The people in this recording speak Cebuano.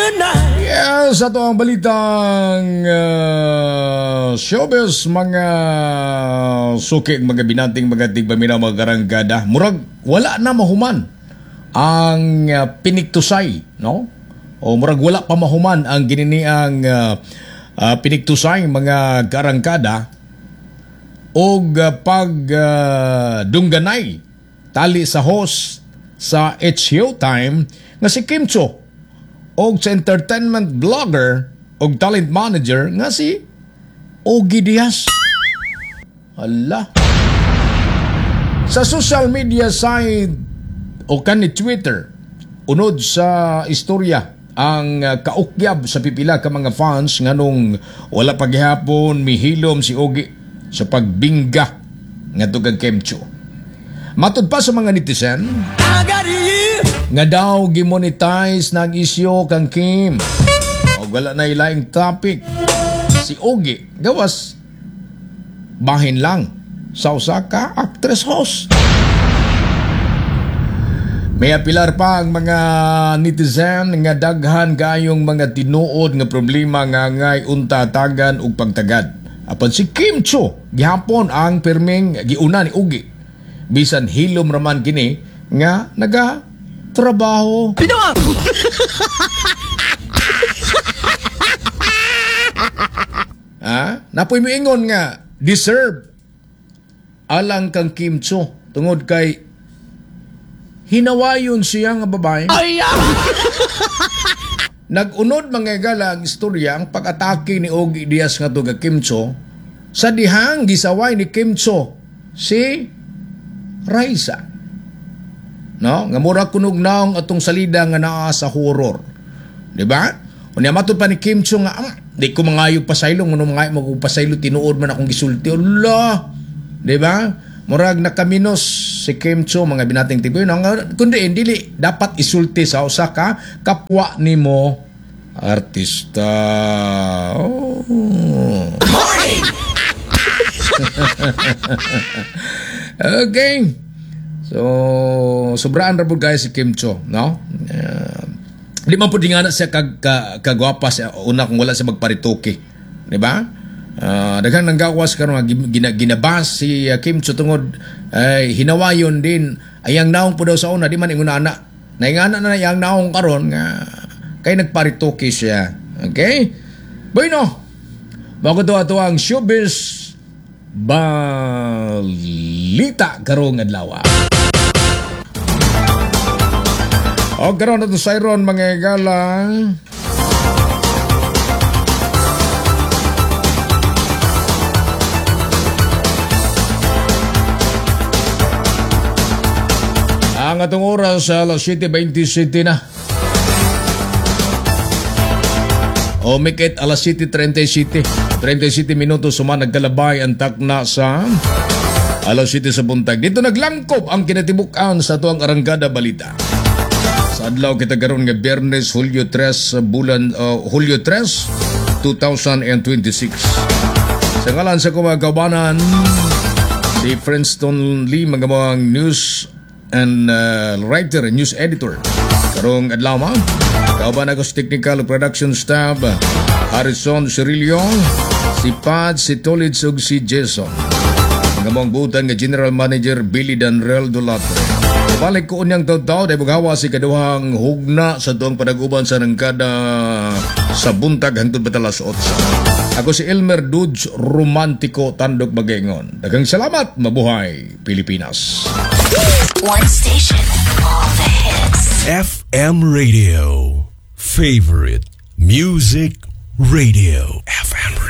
Tonight. Yes, ato ang balitang showbiz, mga suki, mga binanting, mga tigpaminaw, mga karangkada. Murag wala na mahuman ang piniktusay, no? O murag wala pa mahuman ang gininiang piniktusay, mga karangkada, og pag dungganay tali sa host sa It's Showtime nga si Kim Chiu og sa entertainment blogger og talent manager nga si Ogie Diaz. Ala. Sa social media site o kani Twitter, unod sa istorya ang kaukyab sa pipila ka mga fans nganong wala paghihapon mihilom si Ogie sa pagbingga ngadto kang Kim Chiu. Matud pa sa mga netizen I got you. Nga daw gimonetize na ang isyu kang Kim. O wala na ilaing topic. Si Ogie gawas bahin lang sa usa ka actress host. May apilar pa ang mga netizen nga daghan kayong mga tinuod nga problema nga angay unta tagan ug pagtagad. Apan si Kim Chiu gihapon ang pirming giuna ni Ogie. Bisan hilom raman kini nga naga trabaho. Pinoa! Ha? Napoy moingon nga deserve alang kang Kim Chiu tungod kay hinawayon siya nga babae. Ay! Nag-unod mga higala ang istorya ang pag-atake ni Ogie Diaz nga kay Kim Chiu sa dihang gisaway ni Kim Chiu si Raisa. No? Nga mura kunog naong atong salida nga naa sa horror. Di ba? Unya matud pa ni Kim Chiu nga di ko mangayo pasaylo, ngono mangayo mo kog pasaylo, tinuod man akong gisulti. Allah. Di ba? Murag nakaminos si Kim Chiu, mga binating tiboy. No? Nga, kundi dili dapat isulti sa usa ka kapwa nimo artista. Oh. Okay. So, sobraan ra pud guys si Kim Chiu, no? Di man pud ingana siya kagwapa siya una kung wala siya magparitoke, di ba? Daghang nanggawas karon nga ginabas si Kim Chiu tungod ay hinawayon din ayang naong pud daw sa una, di man ingon ana. Naingana na iyang naong karon nga kay nagparitoke siya. Okay? Bueno, bago to ato ang showbiz balita karong adlaw. O karon ato sa iron mga higala. Ang atong oras sa alas 7:27 na. O make it alas 7:37. 37 minutos suma nagkalabay ang takna sa alas 7 sa buntag. Dito naglangkob ang kinatibukan sa tuang arangkada balita. Sa adlaw kita karon nga Biyernes, Hulyo 3, bulan, Hulyo 3, 2026. Sa ngalan sa kumagawanan, si Princeton Lee, mga news and writer and news editor. Karong adlaw ma, kauban ako sa technical production staff, Harrison Cirillo, si Pad, si Tolitz ug si Jason. Mga mong butan nga General Manager Billy Danrel Dulato. Balik ko unyang taw-taw, dahil magawa si kaduhang hugna sa tuwang panaguban sa nangkada sa buntag hangtod batalas 8. Ako si Elmer Dudes Romantico Tandok Bagengon. Daghang salamat, mabuhay Pilipinas. One station, all the hits. FM Radio. Favorite Music Radio. FM.